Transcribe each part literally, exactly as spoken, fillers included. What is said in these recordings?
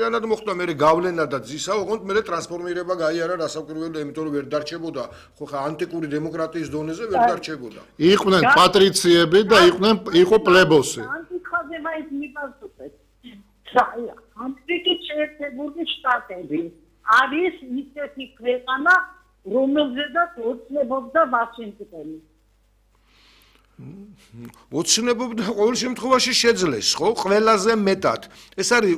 მთლიანად მოხდა მე გავლენა და ძისა, ოღონდ მე ტრანსფორმირება გაიარა რასაკვირველია, იმიტომ რომ ვერ დარჩებოდა, ხო ხა ანტიკური დემოკრატიის დონეზე ვერ დარჩებოდა. იყვნენ პატრიციები და იყვნენ იყო პლებოსი. ანტიხაზე მაინც მიპასუხეთ. ამერიკის შეერთებული შტატები არის ისეთი ქვეყანა, რომელზედაც ოცნებობდა ვაშინგტონი. ოცნებობდა ყოველ შემთხვევაში შეძლეს, ხო? ყველაზე მეტად. ეს არის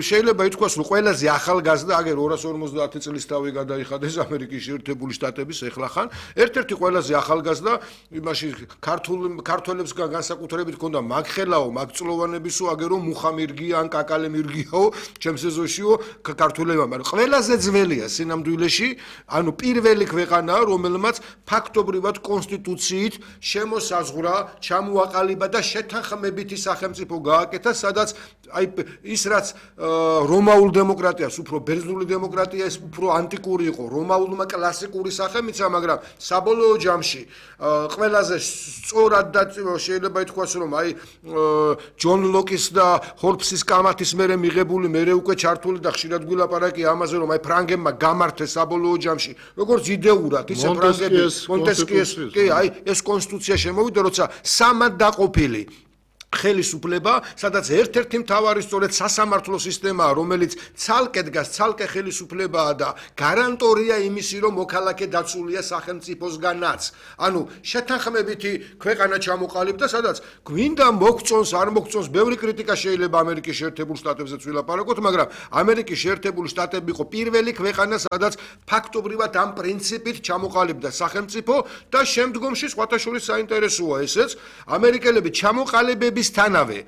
შეიძლება ითქვას, რომ ყველაზე ახალგაზრდა, აგერ ორას ორმოცდაათი წლის თავი გადაიხადეს ამერიკის შეერთებული შტატების ეხლახან. ერთ-ერთი ყველაზე ახალგაზრდა, იმაში ქართულ ქართველებს განსაკუთრებით ჰქონდა მაგხელაო, მაგწლოვანებისო, აგერო მუხამირგია ან კაკალემირგიაო, ჩემს ეზოშიო ქართველებმა, მაგრამ ყველაზე ძველია სინამდვილეში, ანუ პირველი ქვეყანაა, რომელმაც ფაქტობრივად კონსტიტუციით შემოსაზღვრა ჩამოაყალიბა და შეთანხმებითი სახელმწიფო გააკეთა, სადაც აი ის რაც რომაულ დემოკრატიას უფრო ბერძნული დემოკრატია ეს უფრო ანტიკური იყო, რომაულმა კლასიკური სახელმიცა, მაგრამ საბოლოო ჯამში ყველაზე სწორად და შეიძლება ითქვას, რომ აი ჯონ ლოკის და ჰორბსის კამათის მერე მიღებული, მერე უკვე ჩართული და ხშირად გვილაპარაკია ამაზე, რომ აი ფრანგებმა გამართეს საბოლოო ჯამში, როგორც იდეურად, ისე ფრანგები მონტესკიეს, კი, აი ეს კონსტიტუცია შემოვიდა, როცა სამად დაყოფილი ხელისუფლება, სადაც ერთ-ერთი მთავარი სწორედ სასამართლო სისტემაა, რომელიც ცალკე დგას, ცალკე ხელისუფლებაა და გარანტორია იმისი, რომ მოქალაქე დაცულია სახელმწიფოსგანაც. ანუ შეთანხმებითი ქვეყანა ჩამოყალიბდა, სადაც გვინდა მოგწონს, არ მოგწონს, ბევრი კრიტიკა შეიძლება ამერიკის შეერთებულ შტატებზეც ვილაპარაკოთ, მაგრამ ამერიკის შეერთებული შტატები იყო პირველი ქვეყანა, სადაც ფაქტობრივად ამ პრინციპით ჩამოყალიბდა სახელმწიფო და შემდგომში სხვათა შორის საინტერესოა ესეც, ამერიკელები ჩამოყალიბების თანავე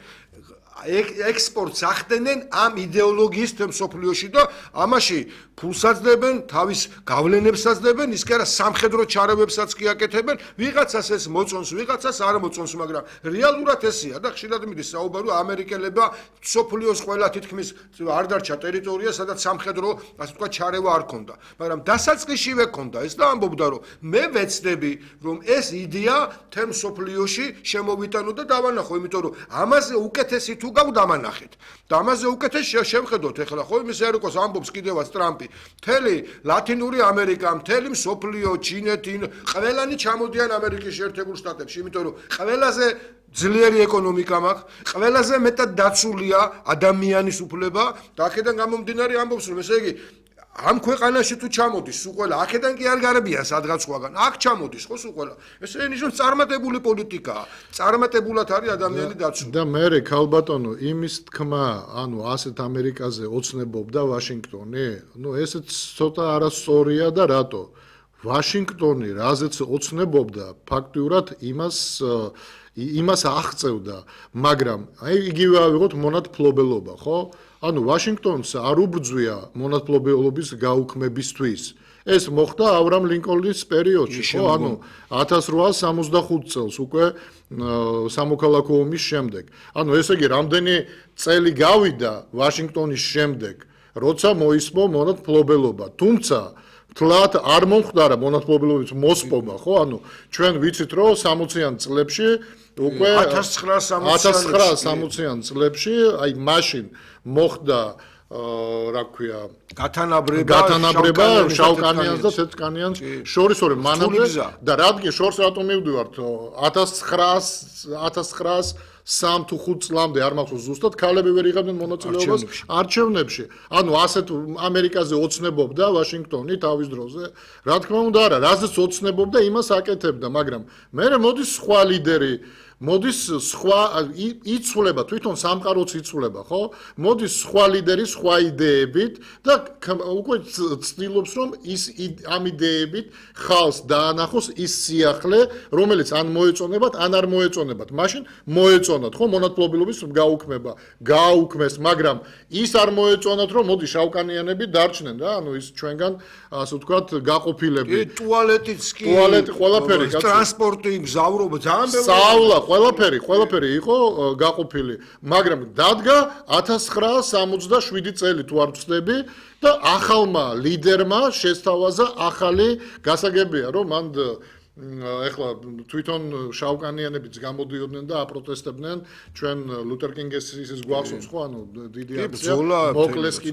ექსპორტს ახდენენ ამ იდეოლოგიის მსოფლიოში და ამაში ფულსაც დებენ, თავის გავლენებსაც დებენ, ის კი არა სამხედრო ჩარევებსაც კი აკეთებენ, ვიღაცას ეს მოწონს, ვიღაცას არ მოწონს, მაგრამ რეალურად ესეა და ხშირად მიდის საუბარი ამერიკელებმა მსოფლიოს ყველა თითქმის არ დარჩა ტერიტორია, სადაც სამხედრო, ასე ვთქვათ, ჩარევა არ ქონდა, მაგრამ დასაწყისშივე ქონდა ეს და ამბობდა, რომ მე ვეცდები, რომ ეს იდეა თემ მსოფლიოში შემოვიტანო და დავანახო, იმიტომ რომ ამაზე უკეთესი თუ გავდამანახეთ. და ამაზე უკეთეს შევხედოთ ეხლა, ხო, იმის არ იყოს ამბობს კიდევაც ტრამპი. მთელი ლათინური ამერიკა, მთელი მსოფლიო, ჩინეთი, ყველანი ჩამოდიან ამერიკის შეერთებულ შტატებში, იმიტომ რომ ყველაზე ძლიერი ეკონომიკა მაქვს, ყველაზე მეტად დაცულია ადამიანის უფლება და აქედან გამომდინარე ამბობს, რომ ესე იგი ამ ქვეყანაში თუ ჩამოდის სულ ყველა, აქედან კი არ გარებიან სადღაც სხვაგან, აქ ჩამოდის ხო სულ ყველა. ეს ენიშნავს წარმატებული პოლიტიკაა. წარმატებულად არის ადამიანი დაცული. და მე ქალბატონო, იმის თქმა, ანუ ასეთ ამერიკაზე ოცნებობდა ვაშინგტონი, ну ესეც ცოტა არასწორია და რატო? ვაშინგტონი რაზეც ოცნებობდა, ფაქტიურად იმას იმას აღწევდა, მაგრამ აი იგივე ავიღოთ მონათფლობელობა, ხო? ანუ ვაშინგტონს არ უბრძვია მონათფლობელობის გაუქმებისთვის. ეს მოხდა ავრამ ლინკოლნის პერიოდში, ხო? ანუ ათას რვაას სამოცდახუთ წელს უკვე სამოქალაქო ომის შემდეგ. ანუ ესე იგი, რამდენი წელი გავიდა ვაშინგტონის შემდეგ, როცა მოისმო მონათფლობელობა. თუმცა თლათ არ მომხდარა მონათფლობელობის მოსპობა, ხო? ანუ ჩვენ ვიცით, რომ სამოციან წლებში უკვე ათას ცხრაასა სამოციან წლებში, აი მაშინ მოხდა რა ქვია გათანაბრება გათანაბრება შავკანიანს და თეთრკანიანს შორის ორი მანამდე და რადგან შორს რატომ მივდივართ ათას ცხრაას სამ თუ ხუთ წლამდე არ მახსოვს ზუსტად ქალები ვერ იღებდნენ მონაწილეობას არჩევნებში. ანუ ასეთ ამერიკაზე ოცნებობდა ვაშინგტონი თავის დროზე. რა თქმა უნდა არა, რაზეც ოცნებობდა იმას აკეთებდა, მაგრამ მე მოდის სხვა ლიდერი მოდის სხვა იცვლება, თვითონ სამყაროც იცვლება, ხო? მოდის სხვა ლიდერი სხვა იდეებით და უკვე ცდილობს, რომ ის ამ იდეებით ხალხს დაანახოს ის სიახლე, რომელიც ან მოეწონებათ, ან არ მოეწონებათ. მაშინ მოეწონათ, ხო, მონათფლობელობის გაუქმება, გააუქმეს, მაგრამ ის არ მოეწონათ, რომ მოდი შავკანიანები დარჩნენ რა, ანუ ის ჩვენგან, ასე ვთქვათ, გაყოფილები. კი, ტუალეტიც კი, ტუალეტი ყველაფერი, ტრანსპორტი, მგზავრობა, ძალიან ბევრი. სწავლა, ყველაფერი, ყველაფერი იყო გაყოფილი, მაგრამ დადგა ათას ცხრაას სამოცდაშვიდი წელი თუ არ ვცდები და ახალმა ლიდერმა შესთავაზა ახალი გასაგებია, რომ მან ეხლა თვითონ შავკანიანებიც გამოდიოდნენ და აპროტესტებდნენ ჩვენ ლუთერ კინგის ის გვახსოვს ხო, ანუ დიდი აქცია მოკლეს კიდე